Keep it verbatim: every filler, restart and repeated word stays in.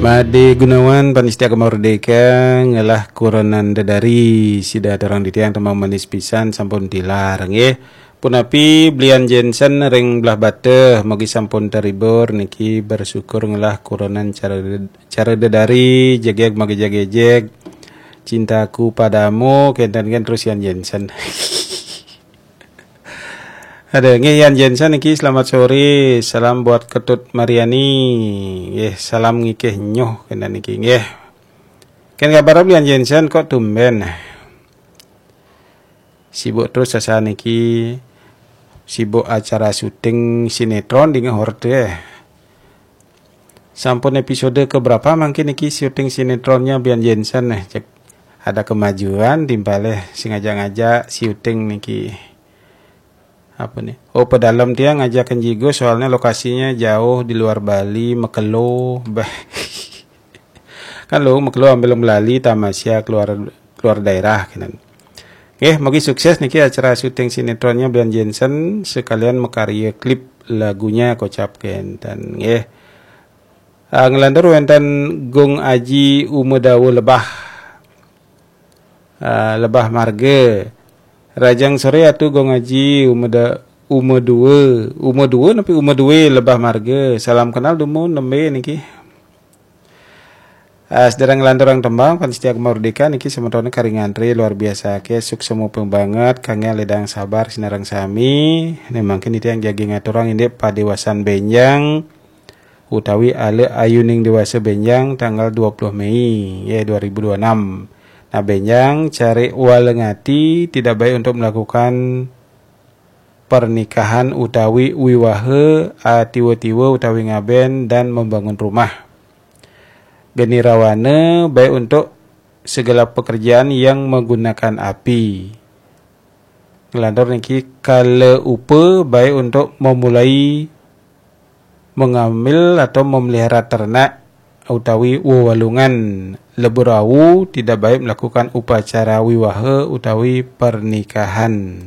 Made Gunawan, panitia Gema Merdeka, ngelah kurenan dedari sida aturang titiang tembang manis pisan sampun tilar nggih. Punapi belian Jensen ring Blahbatuh, mugi sampun terhibur niki, bersyukur ngelah kurenan cara, cara dedari, jegeg magejeg-gejeg. Cintaku padamu, kenten kan terus Yan Jensen. Ada nggih Yan Jensen niki, selamat sore, salam buat Ketut Mariani. Nggih, salam ngikih nyuh kenten niki nggih. Ken kabar Yan Jensen kok tumben? Sibuk terus asa niki, sibuk acara syuting sinetron di ngehor teh. Sampun episode keberapa mangkin niki syuting sinetronnya Bian Jensen nih, cek ada kemajuan timpalih sing ngajak-ngajak syuting niki. Apa nih? Oh, pedalem tiang ngajakin jigo soalnya lokasinya jauh di luar Bali, mekelo. Bah. Kan lo mekelo ambil melali tamasya keluar keluar daerah kenen. Nggih, mugi sukses niki acara syuting sinetronnya Bian Jensen sekalian makarya klip lagunya kocap kenten nggih. Ah, ngelantur wenten Gung Aji Umedawa Lebah. Ah, Lebah Marga. Rajang sore atu Gung Aji Umeda Umedawa, Umedawa napi Umedawa Lebah Marga. Salam kenal dumun nembe niki. Ah, sedereng lanturang tembang, panitia Gema Merdeka niki semetone kari ngantri luar biasa ke, suksma banget, kangge ledang sabar sinareng sami. Nih mangkin titiang jagi ngaturang indik padewasan benjang utawi ale ayuning dewasa benjang tanggal dua puluh Mei ya dua ribu dua enam. Nah, benjang cari walengati tidak baik untuk melakukan pernikahan utawi wiwaha, ah, tiwa-tiwa utawi ngaben dan membangun rumah. Geni rawana baik untuk segala pekerjaan yang menggunakan api. Ngelantur niki kala upa baik untuk memulai mengambil atau memelihara ternak utawi wewalungan. Lebur awu tidak baik melakukan upacara wiwaha utawi pernikahan.